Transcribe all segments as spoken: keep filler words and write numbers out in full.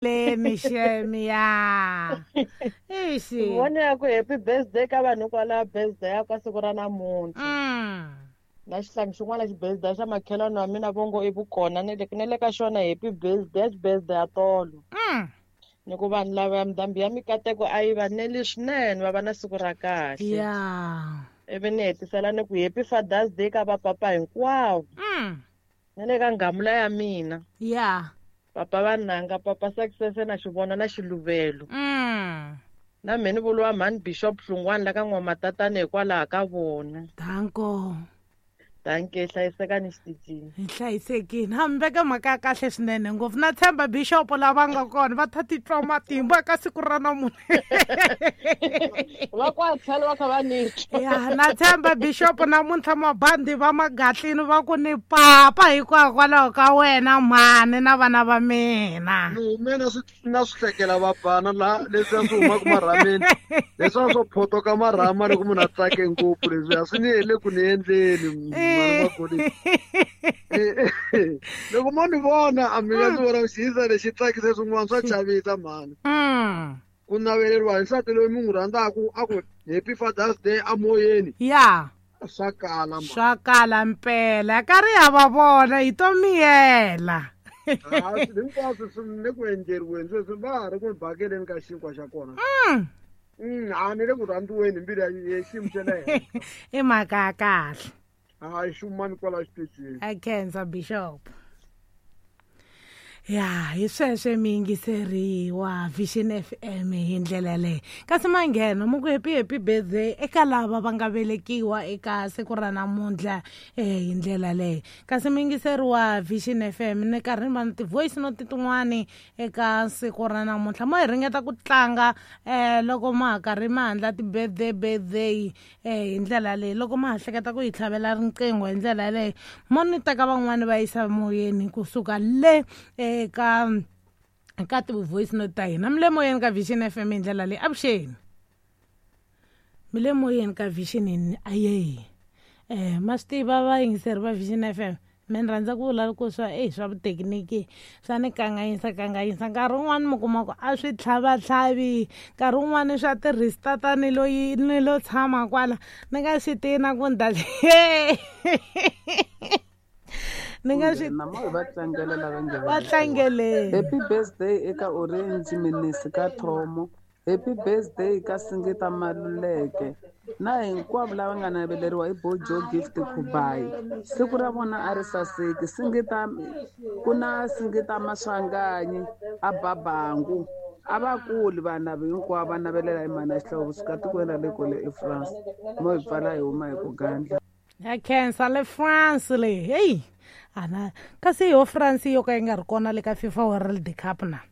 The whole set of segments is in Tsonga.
Leni shame ya. Ixi. Vona ya ku happy birthday ka vanhu kwala birthday ya ka siku ra namuntlha. Mm. Na xihlangi xin'wana xi birthday xa makhelwani wa mina vongo i vukona ni le ni le ka xona happy birthday xi birthday ya tolo. Mm. Ni ku vanhu lava ya ndhambi ya mikateko a yi va neli swinene va va na siku ra kahle. Ya. Ivi ni hetisela ni ku happy Father's Day ka vapapa hinkwavo. Mm. Ni le ka nghamula ya mina. Ya. Papa vananga papa Success na xivona na xiluvelo. Mm. Na mina ni vuriwa mhani Bishop Hlungwani la ka N'wamatatana hikwalaho ka vona. Danko. Danke, hlayisekani xitichini. Hi hlayisekile. Ha mi veka mhaka ya kahle swinene ngopfu. Na tshemba Bishop lava nga kona va ta titwa matimba ka siku ra namuntlha. Va kwa tlhelo va kha va ni twa. Ya, na tshemba Bishop namuntlha mabandi va magatlini va ku ni papa hikwalaho ka wena mhani na vana va mina. Ni hume na swi na swi hlekela vabana laha leswiya swi humaka marhameni. Leswiya swo photoka marhama loko munhu a tsake ngopfu leswiya swi ni le ku ni endleni. Loko mo ni vona a mi nga ndzi vona xiyisa lexi tsakise swin'wana swa chavisa mhani. Ku naveleriwa hi nsati loyi mi n'wi rhandzaka a ku happy Father's Day amoyeni. Ya. Swa kala mhani. Swa kala mpela. Ka ri ha va vona hi to miyela. Ha hinkwaswo swi le ku endleriweni sweswi va ha ri ku bakeleni ka xinkwa xa kona. Mm. Mm, a ni le ku rhandziweni hi mbilu ya xiyimo xa le henhla. I mhaka ya kahle. Hayi xumani kwala xitichini. A khensa Bishop. Ya, hi sweswe mi yingiseriwa Vision F M hi ndlela leyi. Kasi manghena mu ku happy happy birthday eka lava va nga velekiwa eka siku ra namuntlha eh hi ndlela leyi. Kasi mi yingiseriwa Vision F M ni karhi ni va na ti-voice note tin'wani eka siku ra namuntlha. Mo hi ringeta ku tlanga eh loko ma ha karhi ma handla ti-birthday birthday eh hi ndlela leyi. Loko ma ha hleketa ku hi tlhavela riqingho hi ndlela leyi, mo ni teka van'wani va yisa moyeni kusuka le eka ka ti-voice note ta hina. Mi le moyeni ka Vision F M hi ndlela leyi. Avuxeni. Mi le moyeni ka Vision aye. Eh ma swi tiva vayingiseri va Vision F M. Me ni rhandza ku vula ku swa eh swa vuthekiniki swa ni kanganyisa kanganyisa. Nkarhi wun'wani mi kuma ku a swi tlhavatlhavi, nkarhi wun'wani swa ti-restart ni loyi ni lo tshama kwala ni nga swi tivi na ku ni ta ni nga swi Na mo va tlangela lava nge va tlangeleni. Happy birthday eka Orange Minisi ka Thomo. Happy birthday ka Singita Maluleke. Na hinkwavo lava nga naveleriwa hi Bojo Gift Khubayi. Siku ra vona a ri saseki. Singita ku na Singita Maswanganyi a Babangu. A va kuli vanhu lava hinkwavo va navelela hi mhani Xihlovo kusuka tikweni ra le kule eFrance. Mo hi pfala hi huma hi ku gandla. Ya khensa le France le. Hey. Ana kasi yo France yo ka yi nga ri kona le ka FIFA World Cup na.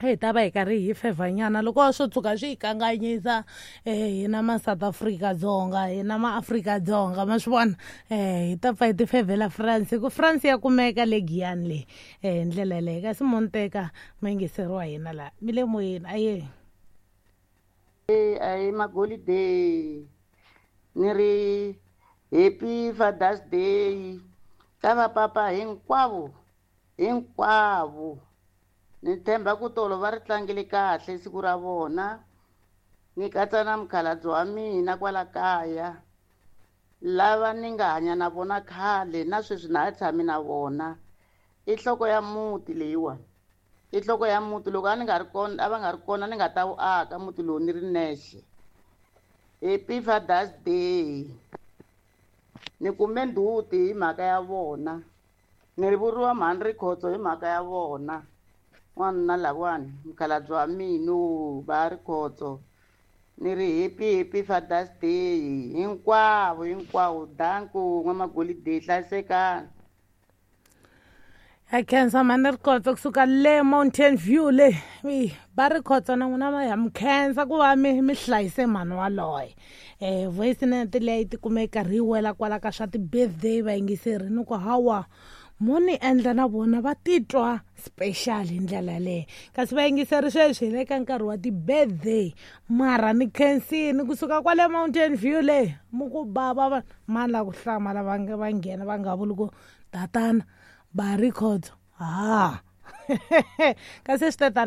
Hey ta va hi karhi hi fevhanyana loko swo tshuka swi hi kanganyisa eh hina ma South Africa Dzonga hina ma Afrika Dzonga ma swi vona eh hi ta pfa hi ti fevhela France ku France ya kumeka le Giyani le eh hi ndlela leyi. Kasi mo ni teka ma yingiseriwa hina laha mi le moyeni aye. Eh ayi magolide ni ri happy Father's Day ka vapapa hinkwavo hinkwavo. Ni tshemba ku tolo va ri tlangile kahle siku ra vona. Ni katsa na mukhalabye wa mina kwala kaya lava ni nga hanya na vona khale na sweswi na ha tshami na vona. I nhloko ya muti leyiwani, i nhloko ya muti. Loko a ni nga ri kona a va nga ri kona ni nga ta wu aka muti lowu ni ri nexe. Happy Father's Day. Ni kume ndzhuti hi mhaka ya vona. Ni ri vuriwa mhani Rikhotso hi mhaka ya vona. N'wanuna lawani mukhalabye wa mina va Rikhotso. Ni ri happy happy Father's Day hinkwavo hinkwavo. Danko N'wamagolide hlayisekani. A khensa mhani Rikhotso kusuka le Mountain View le. Va Rikhotso na n'wina ma ya mi khensa ku va mi mi hlayise mhani waloye. Eh voice note leyi ti kume karhi yi wela kwala ka swa ti-birthday vayingiseri ni ku hawa mo ni endla na vona va titwa special hi ndlela leyi. Kasi vayingiseri sweswi hi le ka nkarhi wa ti-birthday mara ni khensini kusuka kwale Mountain View le mu ku bava va mani la ku hlamala va va nghena va nga vuli ku tatana ba Rikhotso ha. Kasi swi te tani.